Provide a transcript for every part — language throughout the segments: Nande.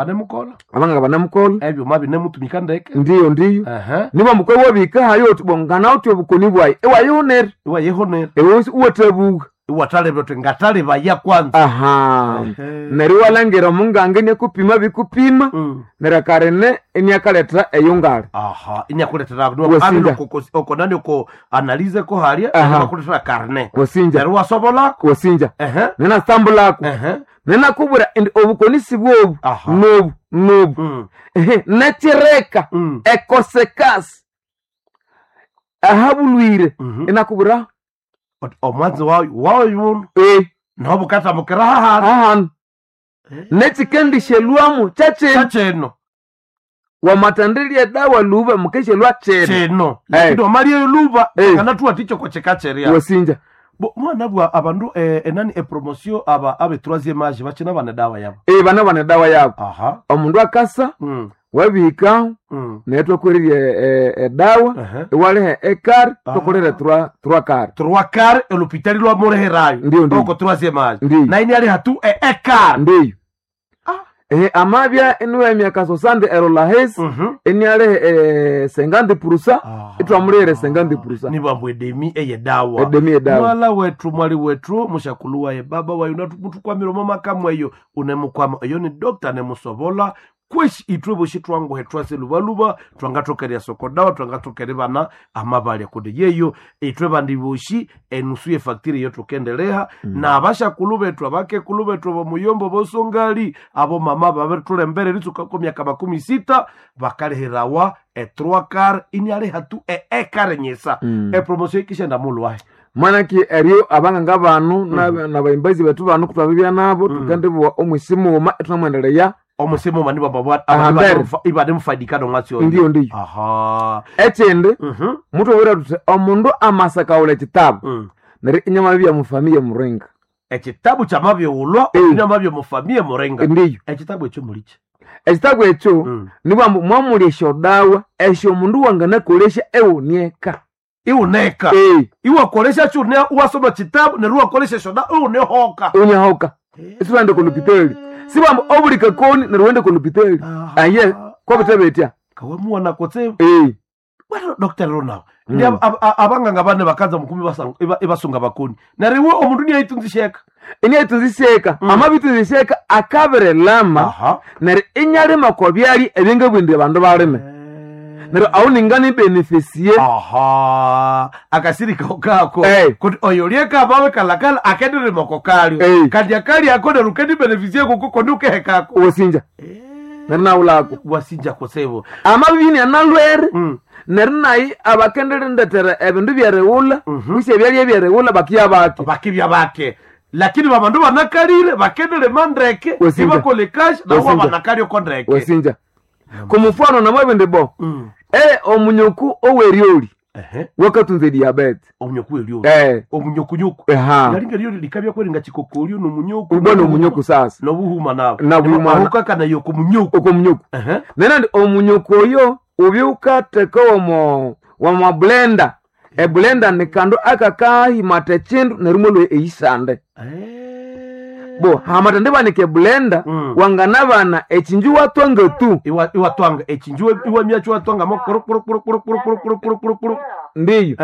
Banemukola Abanganga banamukola. Ebyuma binemutumika ndeke. Ndiyo, ndiyo. Niba mukwe wabika hayo uti bongana uti obukoni bwayi ewayihonera. Iwayihonera. Ewe uwathabuka. Iwataleba uti ngataleba ya kwanza. Aha. Neryo iwalangira omunganga iniakupima bikupima. Neryo akarene iniakaletha eyungale. Aha, iniakuletera Wasinja. oko nani oko analize ko halya Aha. bakuletera karne. Wasinja. Neryo wasobolako. Wasinja. Nenasambulako. Nenakubwira indi obukoni sibwobu. Aha. Nobu, nobu. Ehe, nekireka ekosekasi ahabulwire inakubwira omwanzi wayo wayo nobukatamukira hahanu. Hahanu. Nekikendishelwamu kyakino. Kyakino. Wamatandilya edawa luba mukeshelwa kino. Kino. Lakini wamalya luba kanatuwa ticho kocheka cheria. Wasinja. Bo mwana bwa abandu enani epromosio aba abe troisième âge bakina bana dawa yabo. Bana bana dawa yabo. Aha. Omundu akasa wabihika naye twakwererya edawa iwaliha ekari twakolera trois quarts. Trois quarts elopitali lwa muleherayo. Ndiyo, ndiyo. Oko troisième âge. Ndiyo. Na ini aliha tu ekari. Ndiyo. Amabya iniwe emyaka sosande erola hesi inialiha 50% itwamulihira 50%. Nibambu edemi eyedawa. Edemi edawa. Mwala wetu mwali wetu mushakulu waye baba wayo mutukwamira omo makamu eyo unemukwama eyo ni dokta nemusobola kweshi itwe boshi twanguhe twase lubaluba twangathokerya sokodawa twangathokere bana amabalya kundi yeyo itwe bandi boshi enusu yefactory eyo tukendeleha na abashakulu bethu abakekulu bethu abomuyombo bosongali abo mama babirithulembere ritsuka ko myaka 60 bakalihirawa e3 car inialiha tu e-ekare nyisa epromotion ikishenda mulwahe Mwanaki eryo abanganga banu nabayimbazi bethu banu kutwabibya nabo tukandibuwa omwisi mughuma ithunamwendelea omusi mughuma nibaba Ahambere. ibanemufaidikana omwatsi oyo. Ndiyo, ndiyo. Aha. Ekindi mutubwira tuthi omundu amasakawula ekitabu neryo inyamabibya mufamiye muringa. Ekitabu kyamabighulwa inyamabya mufamiye muringa. Ndiyo. Ekitabu ekyo mulikyi. Ekitabu ekyo nibwambu mwamulya esyodawa esyo omundu wanganakolesya ewunieka. Iwuneka. Iwakolesya kyune iwasoma kitabu neryo iwakolesya esyodawa iwunihoka. Iwunihoka. Isiwende kolupitali. Sibwambu obuli kakoni neryo wende kolupitali. Aye kwabithe Kawamuwana kutse. Bwana Dr. Ronald. Ndi abanganga bane bakanza mukumi ibasunga bakoni. Neryo iwe omundu niyayitunzisheka. Iniyayitunzisheka. Amabitunzisheka akabirilama neryo inyalima kwa byali ebyangabwindire abandu balime. Neryo aho ningani benefisie. Aha. Akasirika kako. Kuti oyo lyeka abawe kalakala akendirima kokalyo. Kandi akali ako neryo kendi benefisie kuko kondi ukehekako. Wasinja. Neryo nawulako. Wasinja kusebo. Amabibini analwere. Neryo nayi abakendirindetera ebindu byerighulha kwisi ebyalya ebyerighulha bakibya bake. Bakibya bake. Lakini babandu banakalire bakendirima ndeke Wasinja. ibakole cash nawo Wasinja. banakalyo ko ndeke. Wasinja. Kumufano namwabindi bo. Omunyuku oweryoli. Wakatunza ediabete. Omunyuku weryoli. Omunyukunyuku. Eha. Nalinga ryoli likabya kweringa chikokolyo nomunyuku. Ubona omunyuku sasa. Nobuhuma nawo. Nabuhuma. Ahukakana yoko munyuku. Oko munyuku. Nena ndi omunyuku oyo ubyukatheka omo wama blender. Eblender ni kandu akakahimata ekindu neryo imwalhwa eyisande. Bo hamata ndibanika eblender wanganabana ekinju iwatwanga tu. Iwatwanga ekinju iwamyacho iwatwanga mo kuru kuru kuru kuru kuru kuru kuru kuru kuru kuru. Ndiyo.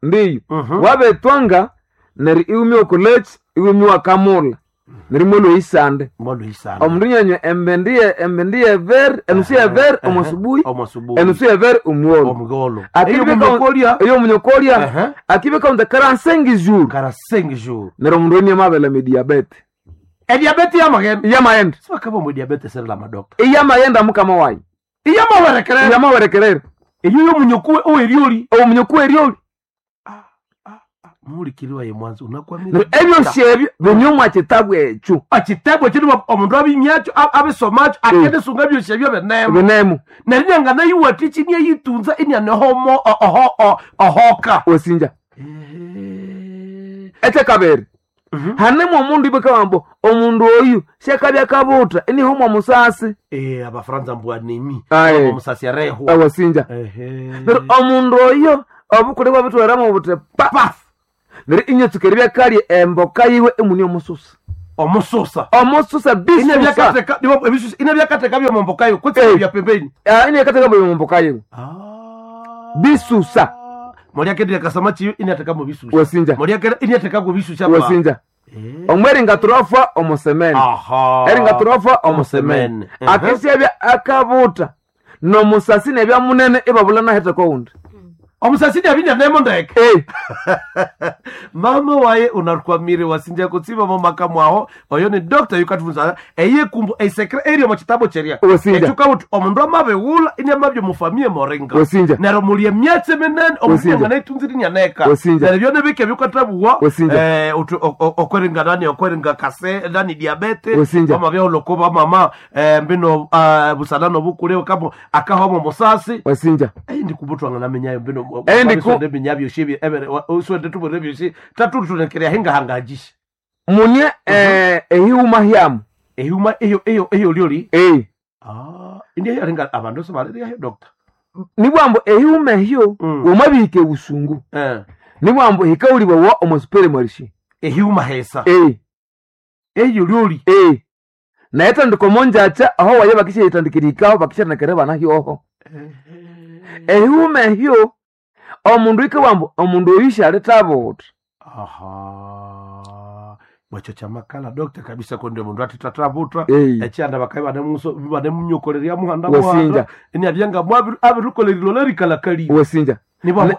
Ndiyo. Wabetwanga neryo iwumya okuleki iwumya wakamula. Neryo imwalhwa eyisande. Imwalhwa eyisande. Omundu nyanywa embendi ye embendi yevere enusu yevere omusubuhi enusu yevere omugholo. Omugholo. Eyo omunyokolya. Akibika unde 45 jours. 45 jours. Neryo omundu eni amabelema ediabete. Ediabete yamaghenda. Iyamaghenda. Sibakaba omu diabete serila madokta. Iyamaghenda mukama wayi. Iyamawerekerera. Iyamawerekerera. Eyo yomunyoku oweryoli. Omunyoku weryoli. Muhulikiri waye mwanzo unakwamira. Neryo ebyosi ebyo binyumwa kitabu ekyo. Ekitabu ekyo nibo omundu abimyakyo abisomakyo akendisunga ebyosi ebyo binemu. Binemu. Neryo inyangana yiwathikyi iniayitunza inianehomo ohoka. Wasinja. Ekyakabiri. Hanemu omundu ibakabambo omundu oyu syakabya kabutha inihumwa musasi. Abafaransa mbu anemi. Aye. Omusasi arehwa. Awasinja. Neryo omundu oyo obukule bwabitweramu buthi pa. Neryo inyatsuka eribya kalya emboka yiwe imune omususa. Omususa. Omususa bisusa. Inabyakateka byomombokayo kutse Eh. bya pembeni. Inekateka byomombokayo. Bisusa. Moliakendira kasamachi inateka mu bisusa. Wasinja. Moliakenda inateka ku bisusa. Wasinja. Omweringa turofa omusemene. Aha. Eringa turofa omusemene. Omusemene. Akesyabya akabuta nomusasi nebya munene ibabula naheta kowundi. Omusasi nyabinya nemo ndeke. Eh, Mama waye unakwamire wasinja kutsiba mu makamu aho oyo ni doctor yukatufunza eye kumbu esekre eri mu kitabo cheria. Wasinja. Echuka uti omundu amabewula ini amabyo mufamie moringa. Wasinja. Nero mulie myatse minene omundu Wasinja. nganaitunziri nyaneka. Wasinja. Nero byone bike byukatabuwa Wasinja. uti okweringa nani okweringa kase nani diabete. Wasinja. Mama byolokoba mama mbino busalano bukule kamo akahomo musasi. Wasinja. Eyi ndikubutwanga namenyayo mbino Eyi ndiku- ndeminyabyo shibi ebere uswende tubone byoshi tatutunekerea hingahangajisha Munye ehiuma hyamu. ehuma eyo eyo eyo lyoli Eh. ah indiye yaringa abandu sobaleriayo doctor. Nibwambo ehiuma ehyo wamabihika ebusungu. Nibwambo hikauliwa wa omusupere marishi. Ehuma hesa. Eh. Eyo lyoli. Eh. Naye tandika omonjacha aho waye bakisha bakishanekere bana hyoho. Ehiuma ehyo omundu ikawambo omundu oyu shaletabuta. Aha, bwecho chamakala doctor kabisa konde mundu atitatabuta. Eh. Ekyanda bakaye banemuso banemunyokoleria muhanda. Wasinja. Muhanda ini abyanga abirukolerilo lerikalakali. Wasinja. Nibo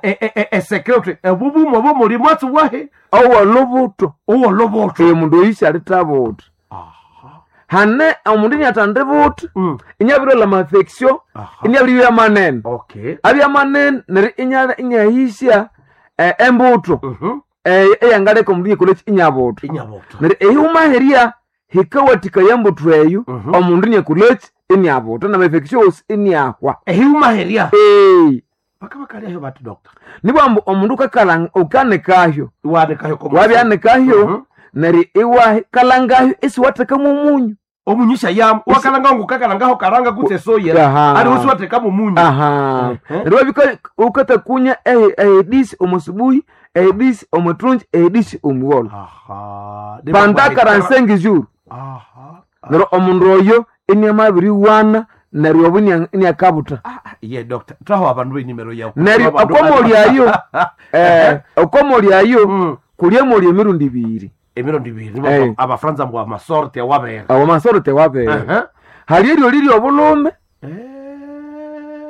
esekretary ebubumo bomuli mwatsi wahe. Owolubuto. Owoloboto. Omundu oyu shaletabuta. Hane omundu inyatandibuta inyabirola mafeksio. Aha. Inyabiribya manene. Okay. Abya manene neryo inyahisya embuto eyangaleka omundu inyakoleki inyabuta. Inyabuta. Neryo ehiuma herya hikawathikaya embuto eyo omundu inyakoleki inyabuta namafeksio wosi iniahwa. Ehiuma herya. Eh. Bakabakalyayo bati doctor. Nibwambu omundu ukanikahyo. Iwanikayo komo. Wabyanikahyo neryo iwakalangahyo isiwathekamu omunyu. Omunyisha yam wakalanga ngukakalangaho karanga kutse soya. Aha. Ali usiwathekamu omunyu. Aha. Neryo wabika ukatakunya ehedisi omusubuhi, ehedisi omutrunji, ehedisi omugholo. Aha. Pandakara nsengi juru. Aha. Neryo omundu oyo iniamabiriwana neryo obu iniakabuta. Ye doctor traho abandu benimero yawo. Neryo okomolyayo okomolyayo kulyemolya emirundi ibiri. Emirundi ibiri. Eh. Abafranza mbwa amasorte awabera. Awo masoro tewabera. Hali eryo liri obulume.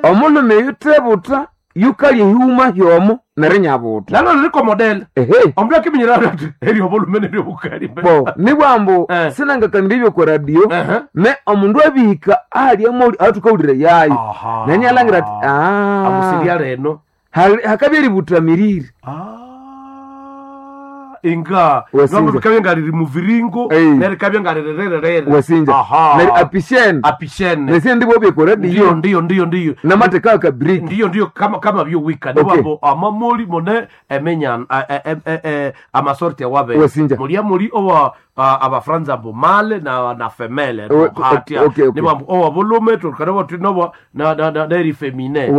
Omulume yutebuta yukalya ehiuma hyomo neryo inyabuta. Nalo liriko model. Ehe. Omundu akiminyira ati eryo obulume neryo obukali. Bo nibwambu sinangakanira ebyo kwa radio me omundu abihika ahalya moli athukawulira yayo. Aha. Nenyalangira ati ah. Amusiria reno. Hakabya eributamirire. Inga Wasinja. ngambo bikabya nga riri muviringo Eh. neryo ikabya nga rirererere. Wasinja. Aha. Neryo apishene. Apishene. Nesindi bobye kwa Ndiyo radio. ndiyo ndiyo ndiyo. Namateka akabriki. Ndiyo ndiyo kama kama byowika Okay. niwambo amamoli mone emenya amasorte awabe. Wasinja. Mulia muli owa abafranza mbo male na femele hatia. Okay. Niwambo owa bulume tukana tinobo na na na neri femine.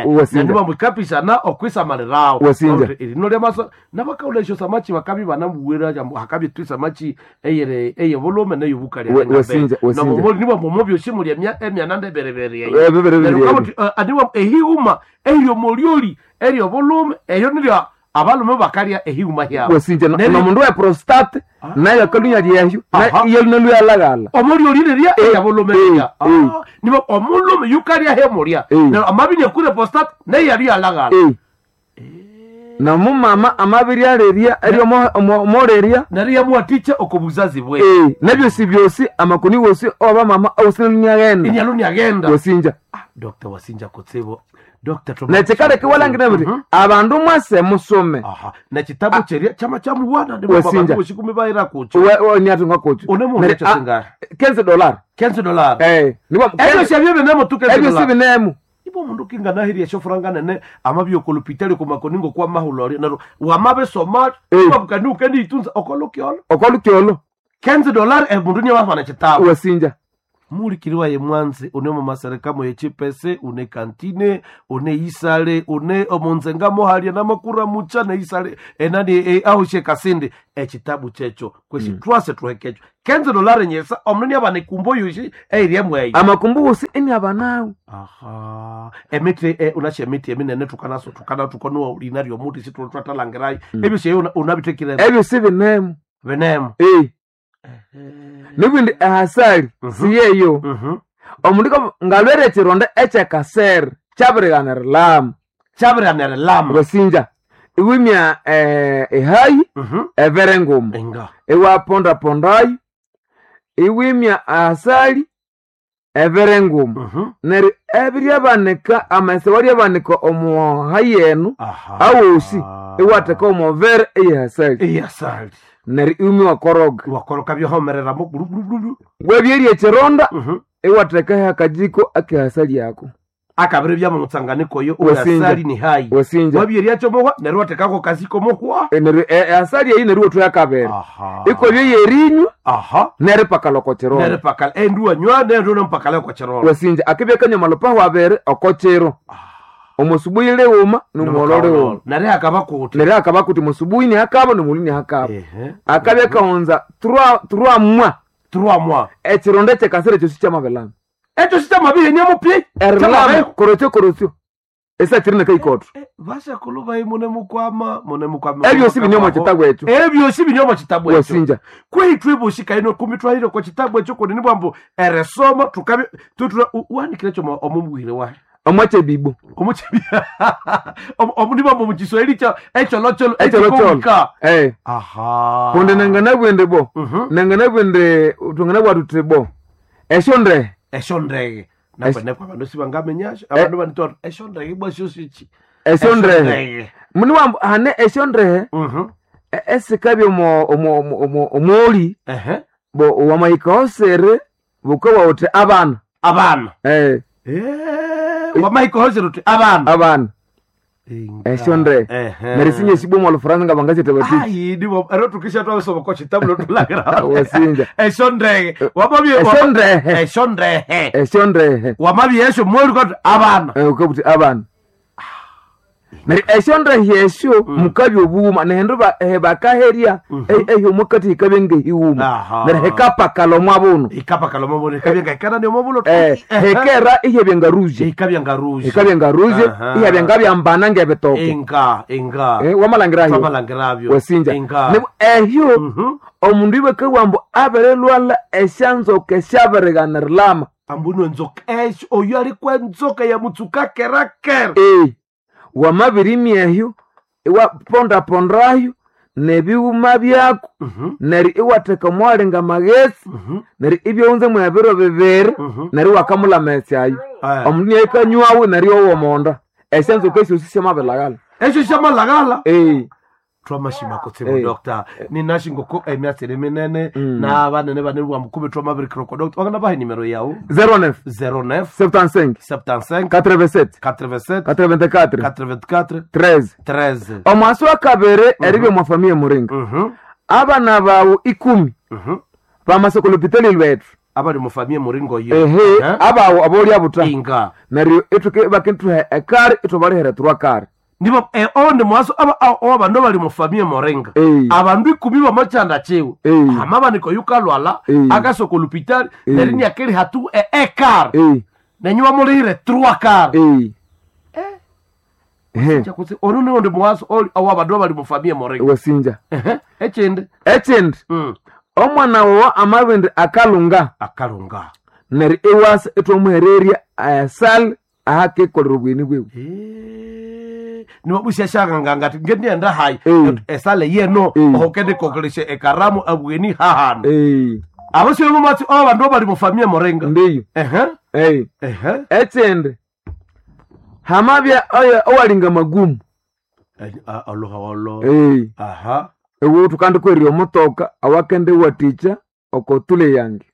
Wasinja. Niwambo kapisa na okwisamalirawo. Wasinja. Erino lyamaso nabakaula esyo samachi bakabi banamuwira jambo hakabi tu samachi eyere eye bulume neyobukali. Wasinja, wasinja. Nomomoli niwambo mobyoshi muli emya emyananda eberebere. Berebere. Neryo kabuti, aniwa ehiuma eryo molioli eryo bulume eryo niryo abalume bakalya ehiuma hyabo. Wasinja Neryo- nomundu we prostate nayo akalunya lyehyo Aha. iyalunaluyalagala. Omolioli rirya eyabulume rirya. eh. Niba omulume yukalya hemulya. Eh. Neryo amabinya kure prostate neyali alagala. Nomumama amabiryalerya eryomolerya. Neryo yamuwatikya okobuzazi bwe. Nebyosi byosi amakoni wosi obamama awusinaluniaghenda. Inyalunyagenda. Wasinja. Dr. Wasinja kutsibo. Dr. Nekikaleka iwalangira buti abandu mwase musome. Aha. Nekitabu kyerya kyama kyamuwana Wasinja. ndibashikumi bayira kukyo. Niatunga kukyo. Une mundu Neryo, ekyo singari? $15. $15. Eh, nibo Ebyo syabyo binemo tu $15. Ebyo si binemo. Ibo mundu kinganahirya esyofuranga nene amabya okolupitali kumakoningo kwa mahulori neryo wamabisoma wabukani ukendiyitunza okolukyolo. Okolukyolo. $15 emundu niwahwana ekitabu. Wasinja. Mulikiriwa ye mwanzi une mumasereka moye chipese une kantine une isale une omunzenga mohalya namakura mucha ne isale enani ahoshe kasindi ekitabu kyecho kwesi twase tuhekekyo kenze dolari nyesa omundu niabana ekumbo yoshi eirye mweyo. Amakumbu wosi eni abanawo. Aha, emiti unasha emiti eminene tukanaso tukana tukonuwa lina lyomuti situlutwatalangirayo ebyo syeyo unabitekire. Ebyo sibinemu. Binemu. Nibindi ehasali siyeyo. Omundu ngalwere ekironda ekyekasere kyabirighana erilama. Kyabirighana erilama. Wasinja iwimya ehayi evere nguma. Inga. Iwapondapondayo iwimya ahasali evere nguma. Neryo ebiryabanika amase waryabanika omuhayi enu awosi iwatheka omovere eyehasali. Eyasali. Neryo iwimya wakoroga. Wakoroka byohomereramo guruguruguru. Wabyerya ekironda iwatheka akajiko akehasali yako. Akabiri bya mutsanganiko yo uyasali ni hayi. Wasinja. Wabyerya mohwa neryo wathekako kaziko mohwa. Neryo ehasali eyi neryo wathuya kabiri. Ikwabya yerinywa. Neryo ipakala oko kironda. Neryo ipakala endu wanywa neryo nompakala oko kironda. Wasinja akibya kanywa malupahu abiri oko kiro. Omusubuyi lighuma nomugholo lighuma. Neryo akaba kuti. Neryo akaba kuti musubuyi nihakaba nomuli nihakaba. Akabya kahunza trois mois. Trois mois. Ekironda ekyekasere kyosi kyamabilama. Ekyo sikyamabihenia mupi. Erilama korotyo korotyo. Esakiri nekaikotho. Basakulu bayi mune mukwama mune mukwama. Ebyosi bine omo kitabu ekyo. Ebyosi bine omo kitabu ekyo. Wasinja. Kwithu ebosi kaino kumi twahire kwa kitabu ekyo kunini bwambu eresoma tukabi tutura uhanikire ekyo omumubwire wahe. Omwachebibo. Omuchebibo. Omundiba mu Kiswahili cha echolocolo Echolocolo. Aha. Kundi nanganabwende bo. Nanganabwende tungana tuti bo. Eshondrehe. Eshondrehe. Nakwenekwa abandu sibangamenyasho abandu banitwa eshondrehe bwasho sichi. Eshondrehe. Muni wambu hane eshondrehe. Esikabya omo omo omo omoli. Bo wamahika osere bukawa uti abana. Abana. Wamahika osere uti abana. Abana. Eshondrehe. Neryo sinye sibomo olufaransa nga bangasyethe batiki. Ayi nibo ero tukisha twasoma ko kitabu lotulagira. Wasinja. Eshondrehe. Wamabye Eshondrehe. Eshondrehe. Eshondrehe. Wamabye esho mwoli ko abana. Ukabuti abana. Neryo eshondrehe esyo mukabya obughuma nehindu bakaherya ehyo mukati hikabya ngehighuma. Neryo hikapakala omwa buno. Ikapakala omwa buno ikabya ngahikana omwa buno. Hikera ihyabya ngaruje. Ikabya ngaruje. Ikabya ngaruje ihyabya ngabyambana ngebitoke. Inga inga. Wamalangirayo. Wamalangirabyo. Wasinja. Inga. Neryo ehyo omundu ibakabugha ambu abirilwalha esyanzoka esyabirighana erilama. Ambu enzoka esyo oyo alikwa enzoka yamutsuka kera kera. Wamabirimya ehyo iwapondapondayo nebighuma byaku neryo iwatheka omwalinga amaghetse neryo ibyaghunza mwebiro bibiri neryo iwakamulha amaghetse ayo. Omundu inahikanywawo neryo iwowa omonda. Esyanzoka esyosi syamabilhaghalha. Esyo syamalhaghalha? Twamashima kutsibu doctor. Ninashe ngoko emyatsi minene n'abanene banene bwa mukube twamabirikira ko doctor. Wangana bahe nimero yawu? 09 09 75 75 87 87 84 84 13 13. Omwasi wa kabiri eribya omwa familia muringa. Abana bawu 10 bamasa okolopitali lwethu. Abali mu familia muringo yo. Ehe, abawu abolya buta. Inga. Neryo ithuke bakinthuha ekari ithubalihera thurwa kari. Nibo onde mwaso aba abandu bali mu familia morenga. Abandu 10 bamachanda chiwe. Amabaniko yukalwala akasoko lupitali neryo nyakeli hatu ekar. Nenywa mulire 3 kar. Chakutsi ono ni onde mwaso awa abandu bali mu familia morenga. Wasinja. Echindi. Echindi. Omwana wawo amabindi akalunga. Akalunga. Neryo iwasa ithwamuhererya esali ahakikolera obweni bwewe. Niwabusyashanganga ngati ngendienda hayi esale yeno ohokendikokolesya ekaramu abweni hahano. Abasyo mumatsi abandu abali mu familia morenga. Ndiyo. Echindi hamabya oyo owalinga magumu. Oluha olo. Ewu tukandikwerya omutoka awakende watikya oko tule yange.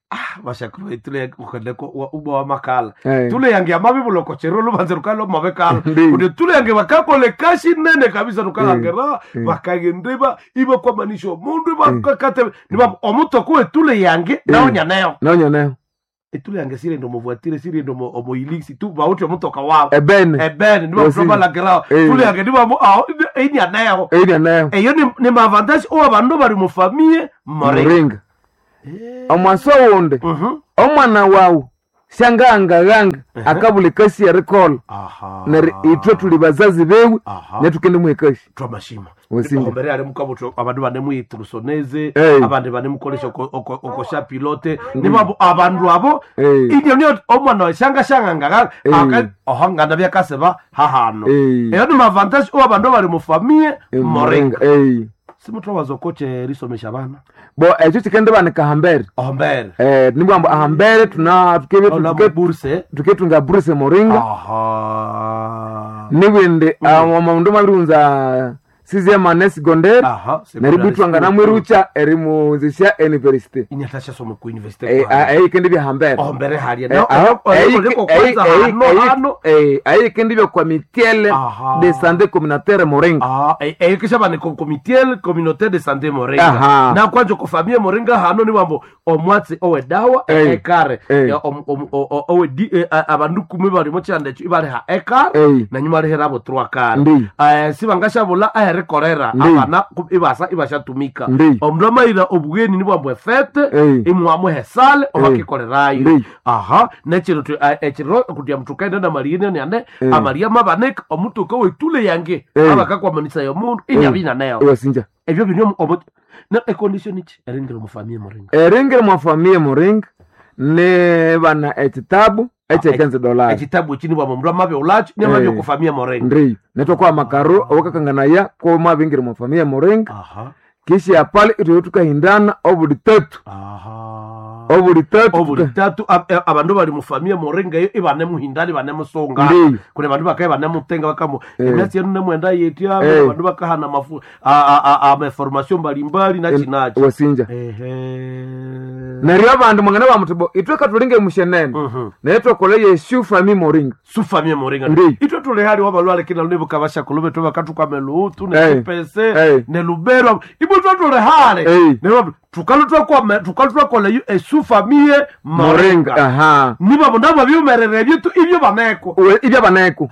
Bashakuru tule yange ukendeko ubwa wa makala. Tule yange amabibuloko chero lubanze rukalo mabekala. Kundi tule yange bakakole kashi nene kabisa rukalangera bakagendeba iba kwa manisho mundu bakakate niba omutoko we tule yange naonya nayo. Naonya nayo. Etule yange sirienda omuvuatire sirienda omoiliksi tu bawuthi omutoka wabo Ebene. Ebene nibamutobalagirawo. Eh. Tule yange nibamu aho inyaneho. Eyi Eyo ni maavantage owa bandu bali mufamie moringa. Moringa. Omwaso wundi, omwana wawu syangahangaghanga akabula ekasi erikolha. Aha. Neryo ithwe tuli bazazi bewe, Aha. netukende muha ekasi. Twamashima. Wasinja. Ombere ali mukabuto abandu banemuyithrusoneze, Eh. abandi banemukolesha okosha pilote nibabo abandu abo. Eh. Inyo niyo omwana shanga shanga ngaga Eh. ohangana byakaseba hahano. Eh. Eyo ni mavantage owa bandu bali mufamie moringa. Eyi. Simuthowaza okoche erisomesha abana. Bo ekyo kikende banika ahambere. Ombere. Nibwamba ahambere tuna Ola muburse. tuketunga buruse moringa. Aha. Nibindi omundu mwabiriwunza sixième année secondaire, Aha. neryo bitwanga namwirucha erimuwunzisya university. Inyatasha soma ku university. Eyi kende byahambere. Ombere halya. Hano. Ayi kende byakwa mitiele Aha. de santé communautaire moringa. Ah, ekisha bane komitiel communautaire de santé moringa. Aha. Na kwanje ko famille moringa hano ni wambo omwatsi owe dawa Eh. ekare. Eh. Ya, owe di abandu kumi bali mu kyanda ekyo ibali ha ekare Eh. na nyuma lihera abo trois kare. Ndi. Sibangashabula aherikorera Ndi. abana ibasa ibashatumika. Ndi. Omundu amayira obugeni ni bwambo efete Eh. imwamuhe sale obakikorerayo. Ndi. Aha, nekiro ekiro kutya muthukaenda namaliye nane Eh. amaliya mabaneka omutuka wetule yange Eh. abakakwamanisa yomundu inyabina nayo. Ewasinja. Ebyo biri na econdition iki eringira mufamie moringa. Eringira mwafamiye moringa ni bana ekitabu ekyekenze dolari. Ekitabu eki nibwama omundu amabya ulakyo niamabya Eh. okufamia moringa. Ndiyo netwakwa amakaro awakakanganaya ko mwabingira mwafamiye moringa. Aha. Kisha pale itwe tukahindana obuli tatu. Aha. Obuli tatu. Obuli tatu abandu bali mufamie moringa eyo ibanemuhindana ibanemusunga. Ndiyo. Kune bandu bakaye banemutenga bakamu Eh. emyatsi yenu nemwenda yetya. Eh. Abandu bakahana mafu amaformation mbalimbali nachinachi. Wasinja. Ehe. Neryo abandu mwangana bamuti bo itwe katulinge mushenene, naye twakola yeshu fami moringa. Sufamie moringa. Ndiyo. Itwe tuli hali wabalwale kina lunibu kabasha kulube tuba katuka melutu Eh. nekipese Eh. nelubero ibo twe tuli hali. Eh. Neryo tukalu twakola yu esufamie moringa. Aha. Niba nabo byumerere ebyo ibyo baneko. Ibyo baneko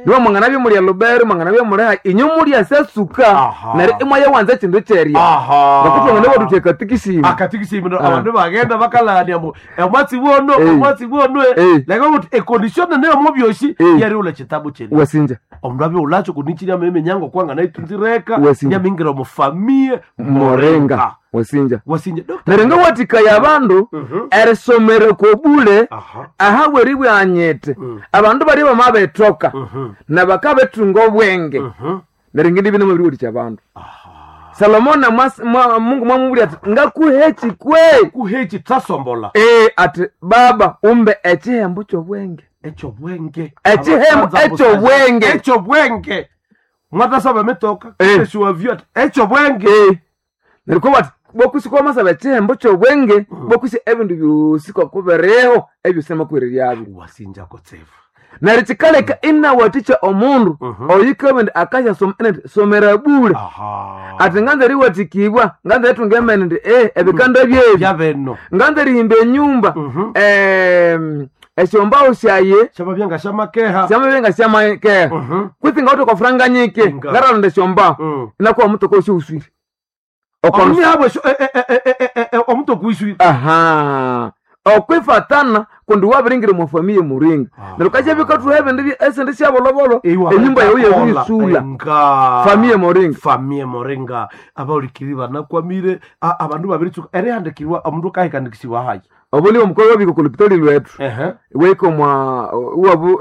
nibo mwangana byomulya lubero, mwangana byomulya inyo mulya sasuka. Aha. Neryo imwaya wanza ekindu kyerya. Aha. Ngakutwangana baduthi akatikisimu. Akatikisimu. Ah. Abandu bagenda bakalania mbu omwatsi wono Eh. omwatsi wono Eh. leka kuti econdition neyo mubyoshi Eh. yari ula chitabu chene. Wasinja. Omundu abe ulacho kunichiria memenyango kwanga naitunzireka Wasinja. nyamingira mufamie Moringa. Wasinja. Wasinja Dr. Neryo ngawathikaya abandu erisomera kobule. Aha. Aha weribwanyete abandu bali bamabethoka na bakabethunga obwenge. Neryo ngindi bino mubiriwathikya abandu. Salomoni Mungu mwamubulya ati ngakuhe kikwe. Kuhechi tasombola. Ati baba umbe ekihembo kyobwenge. Ekyo bwenge. Ekihembo Abasanza ekyo busaza. bwenge. Ekyo bwenge mwatasaba emitoka. Eh. Eshuwavyo ati ekyo bwenge. Neryo ko bati bokusi kwamasaba ekihembo kyobwenge, bokusi ebindu byosi kwakubereho ebyosi namakubereryabyo. Wasinja kotsevu. Neryo kikaleka inawathikya omundu oyikabindi akasyasoma inati somera bule. Aha. Ati nganza eriwathikibwa, nganza eritunga emene ndi ebikanda byebi. Byabeno. Nganza erihimba enyumba, esyombawo syaye Syamabyanga syamakeha. syamabye syamakeha. Kwitsi ngawuthe kwafuranga nyike Nga. ngaralonda esyombawo inakuwa omutoka osyowuswire. Omuni habwe omutoka wiswire. Aha, okwifatana kundi wabiringire mwafamiye muringa. Neryo kasya bikathuha ebindu esindi syabolobolo enyumba yawu yabiyisula. Nga Famille moringa. Famille moringa abaulikiri banakwamire abandu babiritsuka erihandikirwa omundu akahikandikisiwa hayi. Obuli omukolo wabika kulupitoli lwethu Ehe. weka mwa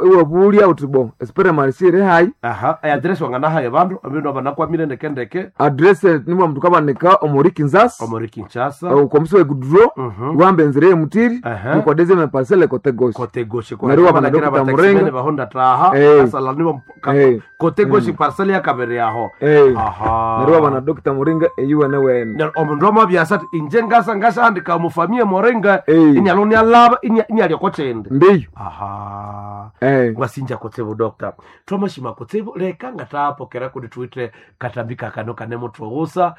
iwabulya uthi bo espere marisi hayi. Aha, eadresi wanganahaye bandu abindu abanakwamire ndekendeke. Adrese nimwa mndu kabanika omuri Kinshasa. Omuri Kinshasa. Omusi wegudro. Wamba enzira yemutiri. Aha. Nikwa deuxième parcelle kote gauche. Kote goshe. Neryo wabana Dr. Murenga. Bahonda taha Eh. asala nibo Eh. kote goshe parcelle yakabere yaho. Eh. Aha. Neryo wabana Dr. Muringa eyiwene wene. Neryo omundu amabyasa ati inje ngasa ngashandika mufamie moringa Eh. inyalo nialaba inyalya kochende. Ndiyo. Aha. Eh. Wasinja kutsibu dokta, twamashima kutsibu. Leka ngatapokera kuti tuite katambi kakano kane mutwoghusa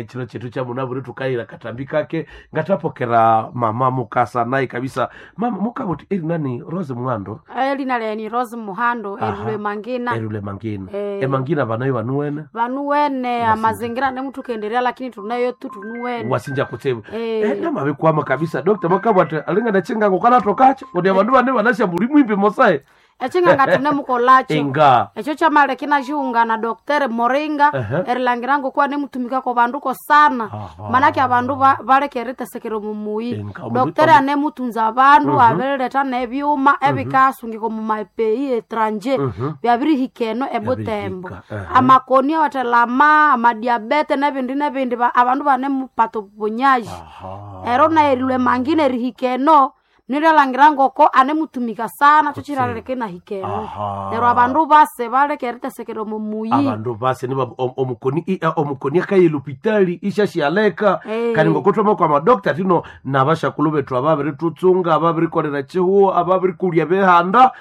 chino chetu cha munaburi tukayira katambi kake ngatapokera mama mukasa naye kabisa. Mama mukabuti eri nani? Rose Mwando. Elina leni Rose Muhando. Aha. Erule Mangina. Erule Mangina. Eh. Emangina banayo banuwene. Vanuwene amazingira nemutukenderea, lakini tunayo tu tunuwene. Wasinja kutsibu. Eh. Namabikwama kabisa dokta, makabwati alinga nachingango kanatokacho kuti abandu bane banashambuli mwimbi mosae. Echinganga tunemukolacho. Inga. Echo chamale kinaxiunga na Doktere Moringa. Ehe. Erilangira ngokuwa nemutumikako banduko sana. Aha. Manake abandu baleka eritesekera omumuyi. Inga, Doktere anemutunza abandu, abirileta nebyuma ebikasungika omu mapei etranje, byabirihika eno ebutembo. Byabirihika, ehe. Amakoni awathelama amadiabete nebindi nebindi, abandu banemupata obubonyaji. Aha. Ero naerilwe mangina erihika eno nilyalangira ngoko anemutumika sana tuchiraleke nahika eno. Aha. Neryo abandu base baleka eritesekera omumuyi. Abandu base niba omukoni omukoni akayela opitali ishashyaleka. Eh. Kandi ngokutwama kwa madokta tino nabashakulu bethu ababirithutsunga, ababirikolera chihuo, ababirikulya behanda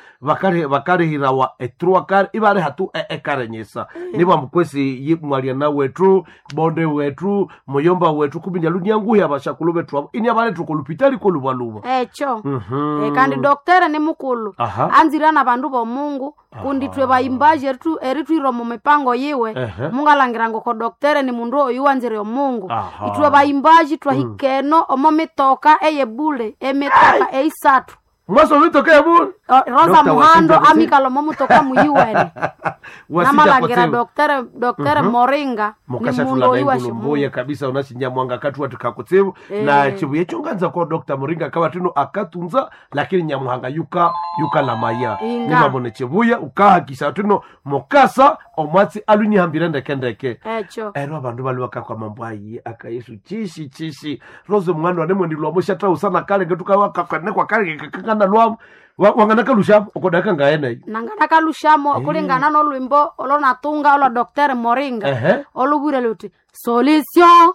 bakalihirawa etrua kare ibaliha tu ekarenyesa niba mukwesi mwalyana wethu, bonde wethu, muyomba wethu kuminya lunyanguhi abashakulu bethu abo ini abalethu kolupitali kolubaluba. Echo. Kandi doktere ni mukulu. Aha. Anzira na bandu bomungu kundi twe bayimbaji eritwira omu mipango yiwe. Ehe. Mungalangira ngoko doktere ni mundu oyu wanzire omungu. Aha. Itwe bayimbaji twahika eno omo mitoka eyebule emitoka eisathu. Mwaso mitokea bule. Rosa Dr. Muhando Wasinja. amikala omo mutoka muyiwene. Wasinja Namalangira kutsibu. doktere Moringa ni mundu Mukashatula oyu naingulu mbuye washimungu. kabisa unashinyamwanga katuwa tukakutsibu na chibuye chonganza kwa Dr. Muringa kawa tino akatunza lakini nyamuhanga yuka yuka lamaya. Inga. Nimamone chibuye ukahakisha tino mukasa omwatsi alunihambire ndekendeke. Echo. Ero abandu bali bakakwa mambo ayi aka Yesu chishi chishi Rose mwana wanemwendilwamo shatau sana kale ngetukawakakanekwa kale kakangana lwamo wanganakalushapo okodaka ngaeneyo. Nanganakalushamo kulingana nolwimbo olonatunga olwa doktere Moringa. Ehe. Olubwire luti solution.